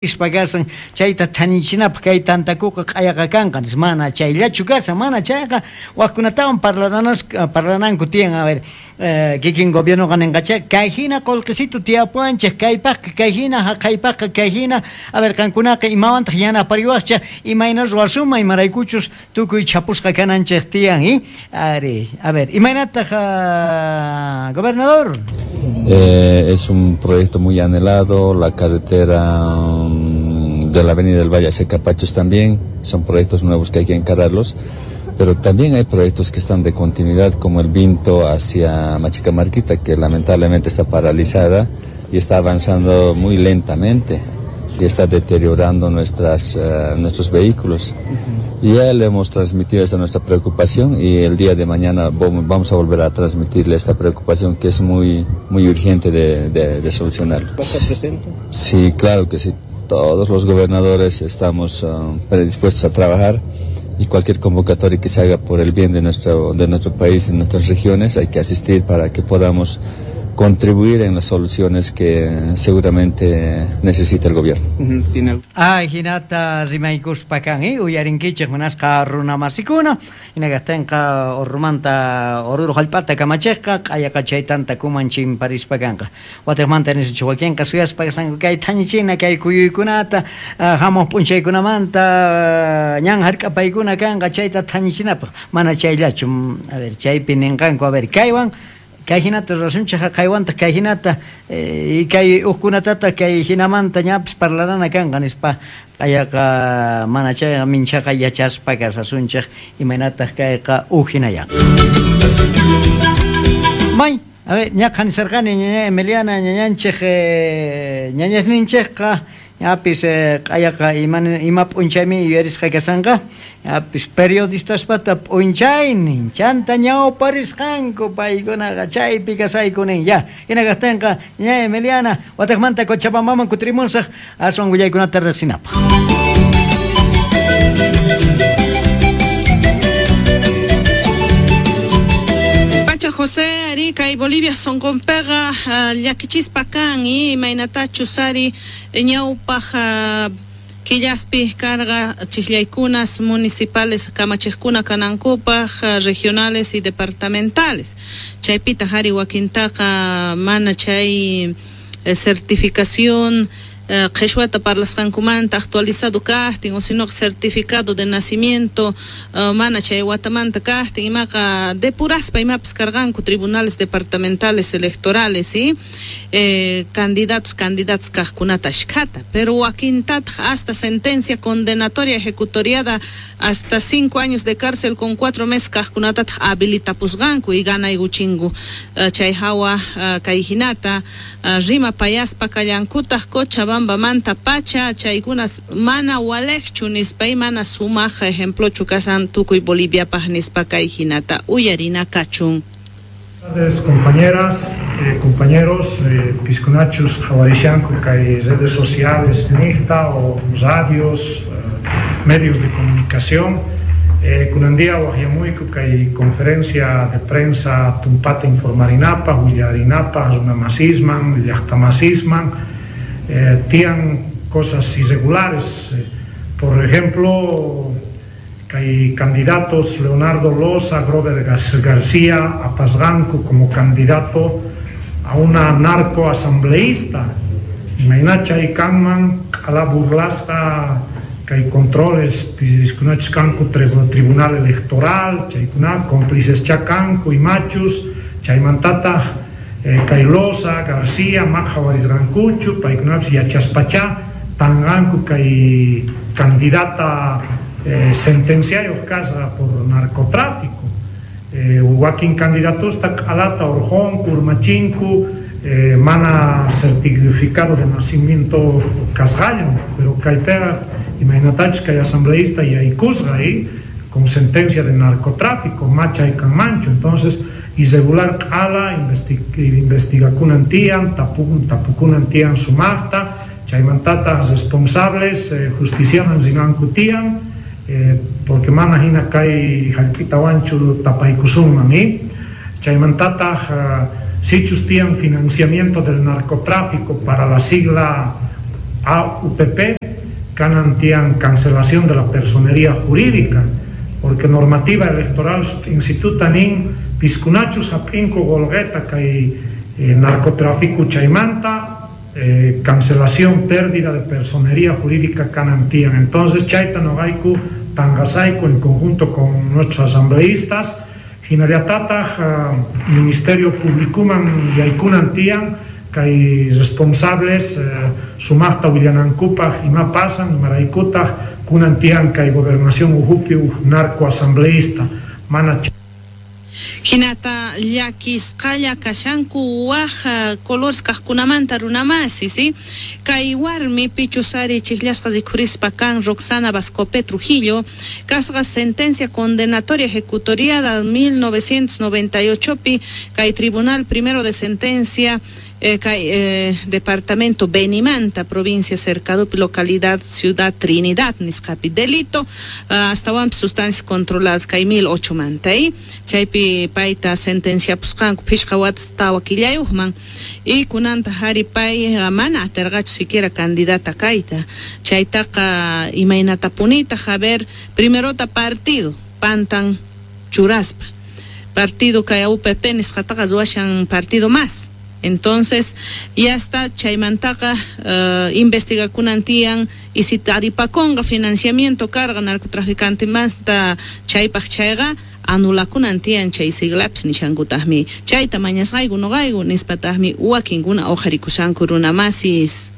Ispa kasan chayta thanichinapaj kay tantakuqa q'ayaqa kanqa nispa, mana chayllachu kasan, mana chayqa wajkunatawan parlananku tiyan. A ver, kikin gobiernoqa nenqachá kay jina qolqesitu tiyapuwanchej kaypajqa kay jina, jaqaypajqa kay jina, a ver qankunaqa imawantaj yanapariwajchej, imayna ruwasunman, imaraykuchus tukuy chhapusqa kananchej tiyan, i? Ari, a ver, imaynataj gobernador? Es un proyecto muy anhelado, la carretera de la Avenida del Valle hacia Capachos también, son proyectos nuevos que hay que encararlos, pero también hay proyectos que están de continuidad, como el Vinto hacia Machicamarquita, que lamentablemente está paralizada y está avanzando muy lentamente y está deteriorando nuestros vehículos. Y ya le hemos transmitido esa nuestra preocupación y el día de mañana vamos a volver a transmitirle esta preocupación que es muy, muy urgente de solucionar. ¿Va a estar presente? Sí, claro que sí. Todos los gobernadores estamos predispuestos a trabajar y cualquier convocatoria que se haga por el bien de nuestro país y nuestras regiones hay que asistir para que podamos contribuir en las soluciones que seguramente necesita el gobierno. ¿Tiene algo? Ay, jinata rimaykuspa kan, uyarinkichej munasqa runamasikuna, hinakajtinqa Orrumanta Oruro jallp'ata kamachejqa q'ayaqa chay tantakuman chimparispa kanqa. Watejmanta nisach wakinqa suyaspa kasqanku kay thañichina kay kuyuykunata, hamuq p'unchaykunamanta ñan hark'apaykuna kanqa chayta thañichinapaq, mana chayllachu, a ver, chaypi ninqanku, a ver, kaywan kay hinata ruwasunchej, jaqaywantaq kay hinata, y kay ujkunatataq kay hinamanta ñapis parlarana kanqa nispa q'ayaqa mana chayqa minchaqa yachaspa kasasunchej imaynataq kayqa uj hinayanqa. May, a ver, ñaqa nisarqani ñaña Emiliana ñañanchej, ñañasninchejqa ñapis, q'ayaqa ima p'unchaymi yuyarisqa kasanqa, ñapis periodistaspata p'unchaynin chanta ñawparisqanku paykunaqa chaypi kasayku nin ya. Hina kajtinqa ñaña Emiliana watejmanta Cochabambaman kutirimusaj aswan willaykunata riqsinapaj. Pacha José, ari kay Bolivia sonqonpiqa llakichispa kan, imaynatachus ari ñawpaj killaspi karqa chijllaykunas municipales kamachejkuna kanankupaj, regionales y departamentales. Chaypitaq ari wakintaqa mana chay certificación qheshwata parlasqankumanta actualizado kajtin, o sino certificado de nacimiento mana chay watamanta kajtin, imaqa depuraspa imapis karqanku tribunales departamentales electorales, ¿sí? Candidatos, candidatos kajkunata ashkhata, pero wakintataq hasta sentencia condenatoria ejecutoriada hasta 5 años de cárcel con 4 meses kajkunatataq habilitapusqanku y ganaykuchinku. Chay hawa kay hinata rima payaspa kallankutaq Cochabamba manta pacha chaykunas mana walejchu nispa y mana sumaq ejemplochu kasan tukuy Boliviapaj nispa kay hinata uyarina kachun. Buenas tardes, compañeras, compañeros, pisconachos, jaguarishanco, kay redes sociales, nixta o radios, medios de comunicación. Kunandia wajyamuiku kay conferencia de prensa tumpata informarinapa, huillarinapa, runamasisman, llaqtamasisman. Tian cosas irregulares. Por ejemplo, hay candidatos Leonardo Loza, Grover García, Apasganco como candidato a una narcoasambleísta. Imainacha y Kanman, a la burlasca, que hay controles, piscunochkanku, tribunal electoral, chaykuna, cómplices chakanku y machus, chaymantata, Kailosa, García, Majawarisgancuchu, Paiknaps y Achaspachá, Tangancu, kay candidata sentenciario casa por narcotráfico. Huaquín candidatos, Alata, Orjón, Urmachinku, mana certificado de nacimiento Casgallo, pero Caipera, Imainatach, kay asambleísta y Aycusga ahí, con sentencia de narcotráfico, Macha y Canmancho. Entonces, irregular ala, investigakunantian, tapukunantian sumafta, chaymantata responsables, justiciaman zinankutian, porque mana hina kay jallp'itawanchu tapaykusunman, Chaymantata, sichus tian financiamiento del narcotráfico para la sigla AUPP kanan tiyan cancelación de la personería jurídica, porque normativa electoral instituta nin piskunachus hap'inku qolqeta kay narcotráfico chaymanta, cancelación, pérdida de personería jurídica kanan tiyan. Entonces chayta noqayku tanqasayku en conjunto con nuestros asambleístas, jinallatataq Ministerio Publicuman yaykunan tiyan kay responsables sumaqta willanankupaq ima pasan, imaraykutaq kunan tiyan kay gobernación ujupi uj narcoasambleísta mana. Hinata llakisqalla kashanku waj colores kaqkunamanta runamasi, ¿sí? Kay warmi pichusari chijllasqa rikhurispa kan Roxana Bascopé Trujillo, kasqa sentencia condenatoria ejecutoriada 1998pi kay Tribunal Primero de Sentencia kay departamento Benimanta, provincia Cercadupi, localidad Ciudad Trinidad, nisqapi delito, hasta sustancias controladas kay 1008 manta, chaypi payta sentencia pusqanku phishqa watas tawa killayuqman, y kunanta hari pay mana atirqachu siquiera candidata kayta, chaytaqa imaynatapunitaq, a ver, primerota partido pantan churaspa, partido kay UPP nisqataqa ruwashan partido más. Entonces, ya está chaymantaqa investigakunan tiyan y si taripakonqa financiamiento carga narcotraficante manta chaypaq chayqa anulakunan tiyan chay siglapis nishankutaqmi chayta mañasqayku noqayku nispataqmi wakinkuna uqharikushanku runamasis.